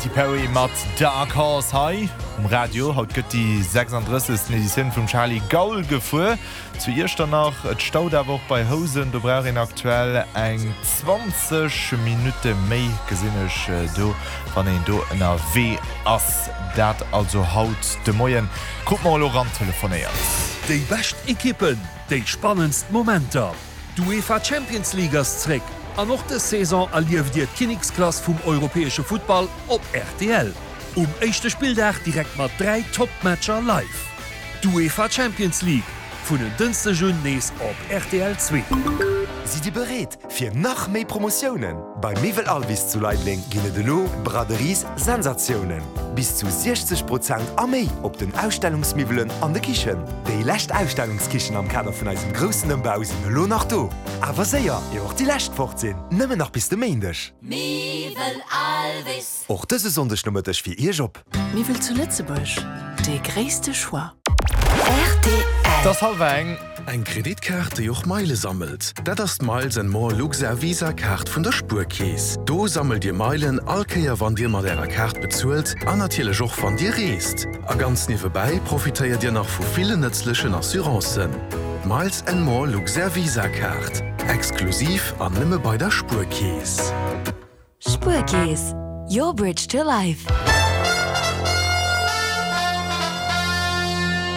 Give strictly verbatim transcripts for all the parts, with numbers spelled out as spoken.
Katy Perry mat Dark Horse hei um Radio. Haut gëtt déi sechsanddrëssegsten Editioun vum Charly Gaul gefuer. Zu Iechternach, et staut awer och bei Housen, do brauch een aktuell eng zwanzeg Minutte méi, gesinn ech do, wann een do ënnerwee ass. Dat also haut de Moien. Krute mer elo ran telefonéiert. Déi bescht Ekippen, déi spannendst Momenter, D'UEFA Champions League ass zréck an och dës Saison erlieft Dir d'Kinneksklass vum europäesche Futtball op R T L. Um éischte Spilldag direkt mat dräi Top-Matcher live. D'UEFA Champions League vun en Dënschdeg un nees op R T L zwee. Sidd Dir bereet fir nach méi Promotiounen? Bei Miwwel Alvis zu Leideleng ginn et elo Braderies Sensatiounen. Bis zu siechzeg Prozent a méi op den Ausstellungsmiwwelen an de Kichen. Déi lescht Ausstellungskichen am Kader vun eisem groussen Ëmbau sinn elo nach do. Awer séier, ier och déi lescht fort sinn. Nëmmen nach bis de Méindeg. Miwwel Alvis. Och dëse Sonndeg Nomëtteg fir Iech op. Miwwel zu Lëtzebuerg, de gréisste Choix. R T L. Et ass hallwer eng. Eng Kreditkaart, déi och Meile sammelt? Dat ass d'Miles and More Luxair Visa Kaart vun der Spuerkeess. Do sammelt Dir Meilen all Kéier wann Dir mat Ärer Kaart bezuelt an natierlech och wann Dir reest. A ganz niewebäi profitéiert Dir nach vu villen nëtzlechen Assurancen. Miles and More Luxair Visa Kaart. Exklusiv an nëmme bei der Spuerkeess. Spuerkeess. Your bridge to life.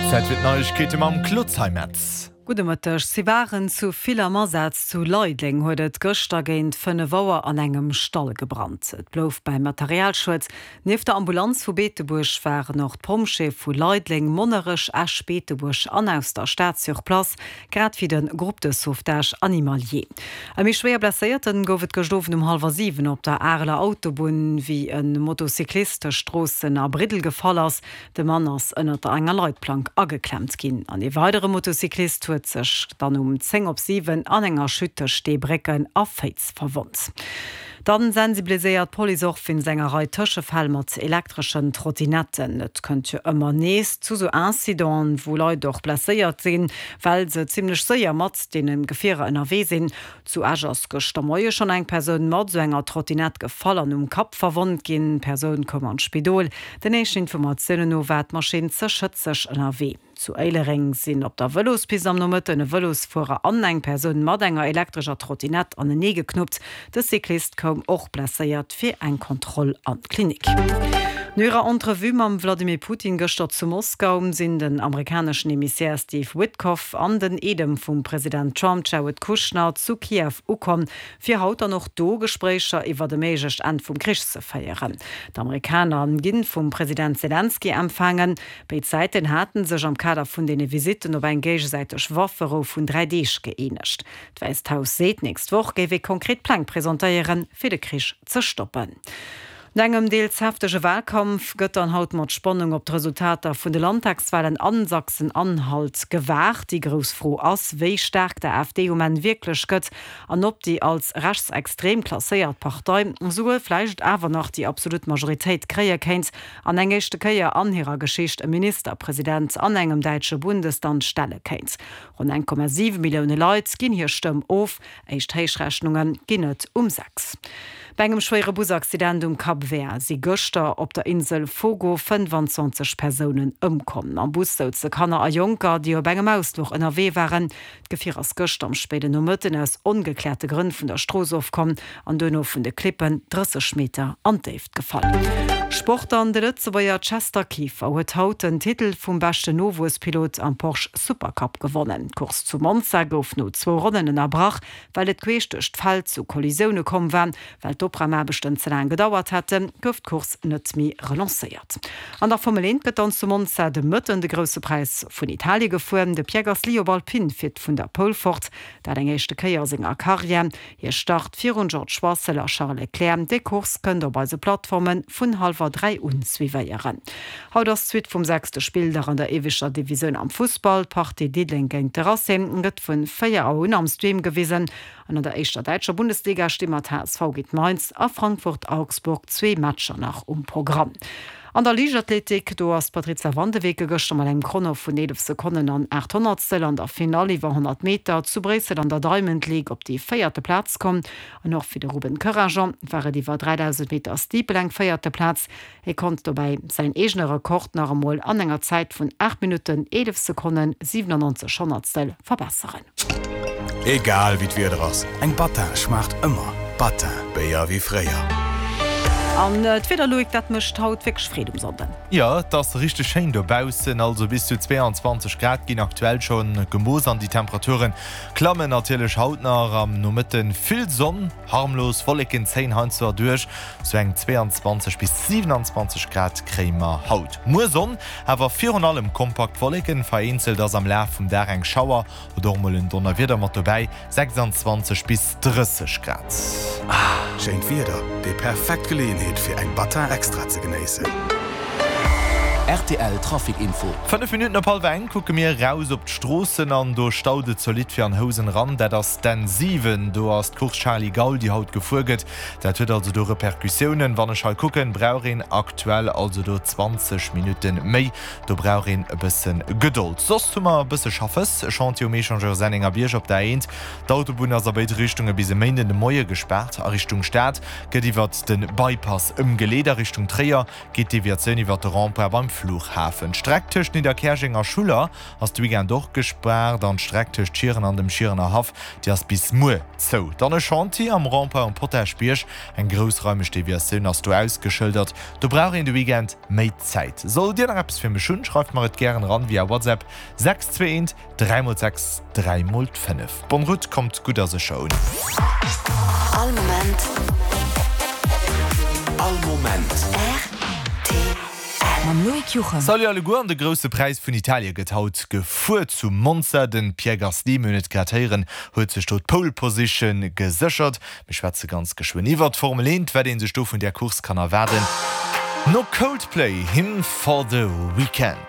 Zäit fir d'Neiegkeete mam Claude Zeimetz. Gudde Mëtteg. Si waren zu vill am Asaz. Zu Leideleng huet et gëschter géint fënnef Auer an engem Stall gebrannt. Et blouf beim Materialschued. Nieft der Ambulanz vu Beetebuerg waren och d'Pompjeeë vu Leideleng, Monnerech, Esch, Beetebuerg an aus der Stad sur place, grad wéi de Groupe de sauvetage animalier. E méi schwéier Blesséierten gouf et gëscht Owend um hallwer siwen op der Areler Autobunn, wéi e Motocyclist tëscht Stroossen a Briddel gefall ass. De Mann ass ënnert enger Leitplank ageklemmt ginn. An ee weidere Motocyclist huet sech dann um zéng op siwen an enger Chute tëscht Steebrécken a Féiz verwonnt. Dann sensibiliséiert d'Police och wéinst enger Rei Tëschefäll mat elektreschen Trottinetten. Et kënnt jo ëmmer nees zu sou Incidenten, wou Leit och blesséiert sinn, well se zimmlech séier mat deene Gefierer ënnerwee sinn. Zu Esch ass gëschter Moie schonn eng Persoun mat sou enger Trottinett gefall an um Kapp verwonnt ginn. D'Persoun koum an d'Spidol. Den éischten Informatiounen no war d'Maschinn ze schëtzeg ënnerwee. Zu Éilereng sinn op der Vëlospist am Nomëtten e Vëlosfuerer an eng Persoun mat enger elektrescher Trottinett anenee geknuppt. De Cyclist koum och blesséiert fir eng Kontroll an d'Klinik. No hirer Entrevue mam Vladimir Putin gëschter zu Moskau sinn den amerikaneschen Emissär Steve Witkoff an den Eedem vum President Trump Jared Kushner zu Kiew ukomm, fir haut dann och do Gespréicher iwwer e méiglecht Enn vum Krich ze féieren. D'Amerikaner ginn vum President Selenskyj empfaangen. Béid Säiten haten sech am Kader vun deene Visitten op eng géigesäiteg Wafferou vun dräi Deeg gëeenegt. D'Wäisst Haus seet, d'nächst Woch géif ee konkret Pläng presentéieren, fir de Krich ze stoppen. No engem deels heftege Walkampf gëtt dann haut mat Spannung op d'Resultater vun de Landtagswalen an Sachsen-Anhalt gewaart. Déi grouss Fro ass, wéi staark d'A F D um Enn wierklech gëtt an ob déi als rechtsextrem klasséiert Partei souguer vläicht awer nach déi absolut Majoritéit kréie kéint an eng éischte Kéier an hirer Geschicht e Ministerpresident an engem däitsche Bundesland stelle kéint. Ronn eng Komma siwe Millioune Leit ginn hir Stëmm of, éischt Héichrechnunge ginn et um sechs. Bei engem schwéiere Busaccident um Cap Vert si gëschter op der Insel Fogo fënnefanzwanzeg Persounen ëmkomm. Am Bus souze Kanner a Jonker, déi op engem Ausfluch ënnerwee waren. D'Gefier ass gëschter am spéiden Nomëtten aus ongekläerte Grënn vun der Strooss ofkomm an duerno vun de Klippen drësseg Meter an d'Déift gefall. Sport an de Lëtzebuerger Chester Kieffer huet haut den Titel vum beschten Nowuesspilot am Porsche Supercup gewonnen. D'Course zu Monza gouf no zwou Ronnen ënnerbrach, well et queesch duerch d'Feld zu Kollisioune komm war. Well d'Opraumaarbechten ze laang gedauert hätten, gouf d'Course net méi relancéiert. An der Formel eent gëtt dann zu Monza de Mëtten de Grousse Präis vun Italie gefuer. De Pierre Gasly op Alpine fiert vun der Pole fort, dat eng éischte Kéier a senger Karriär. Hie start virun George Russell a Charles Leclerc. Déi Course kënnt Dir op eise Plattforme vun hallwer dräi un suivéieren. Haut ass d'Suite vum sechste Spilldag an der éischter Divisioun am Fussball. D'Partie Diddeleng géint de Racing gëtt vun véier Auer un am Stream gewisen. An an der éischter däitscher Bundesliga sti mat H S V géint Mainz a Frankfurt-Augsburg zwee Matcher nach um Programm. An der Liichtathletik, do ass d'Patrizia van de Weke gëschter mat engem Chrono vun eelef Sekonnen an aacht Honnertstel an der Finall iwwer honnert Meter zu Bréissel an der Diamond League op déi véierte Plaz komm. An och fir de Ruben Corajon war et iwwer dräidausend Meter Steeple eng véierte Plaz. Hie konnt dobäi säin eegene Rekord nach emol an enger Zäit vun aacht Minutten, eelef Sekonnen, siwenannonzeg Honnertstel verbesseren. Egal wéi d'Wieder ass, eng Battin schmaacht ëmmer. Battin, Béier wéi fréier. An d'Wieder, Loïc, dat mécht haut wierklech Freed um Sonnden. Jo, et ass richteg schéin dobaussen, also bis zu zweeanzwanzeg Grad ginn aktuell scho gemooss an déi Temperature klammen natierlech haut nach. Am Nomëtte vill Sonn, harmlos Wolleken zéien heiansdo erduerch, sou eng zweeanzwanzeg bis siwenanzwanzeg Grad kréie mer haut. Muer Sonn, awer virun allem kompakt Wolleken, vereenzelt ass am Laf vum Dag eng Schauer oder och mol en Donnerwieder mat dobäi, sechsanzwanzeg bis drësseg Grad. Schéint Wieder, déi perfekt Geleeënheet fir eng Battin Extra ze genéissen. Rtl Trafic Info. Fënnef Minutten op hallwer eng kucke mir eraus op d'Stroossen an do staut et zolidd fir an Housen eran. Dat ass d'N siwen, do ass d'Course Charly Gaul, déi haut gefuer gëtt. Dat huet also do Repercussiounen. Wann ech hei kucken, brauch een aktuell also do zwanzeg Minutte méi. Do brauch een e bësse Gedold. Soss hu mer e bësse Schaffes, e Chantier um Echangeur Sennengerbierg op der A eent. D'Autobunn ass a béid Richtunge bis e Méinden de Moie gespaart. A Richtung Stad gëtt iwwert de Bypass ëmgeleet. A Richtung Tréier geet d'Deviatioun iwwert de Rond-point beim Flughafen. D'Streck tëscht Nidderkäerjeng a Schuller ass de Weekend och gespaart an d'Streck tëscht Schieren an dem Schierener Haff, déi ass bis muer zou. Dann e Chantier am Rond-point um Potaschbierg. Eng groussraimeg Deviatioun ass do ausgeschëldert. Do brauch een de Weekend méi Zäit. Sollt Dir nach eppes fir mech hunn, schreift mer et gären eran via WhatsApp, sechs zwee eent dräi mol sechs dräi mol fënnef. Bonne route, kommt gutt a sécher un. All Moment. All Moment. Rtl. Mam Loïc Juchem. Salut alleguer, an de Grousse Präis vun Italie gëtt haut gefuer zu Monza. Den Pierre Gasly, mir hunn et grad héieren, huet sech do d'Pole Position geséchert. Mir schwätze ganz geschwënn iwwert d'Formel eent, wat ee sech do vun där Course kann erwaarden. No Coldplay, Hymn for the Weekend.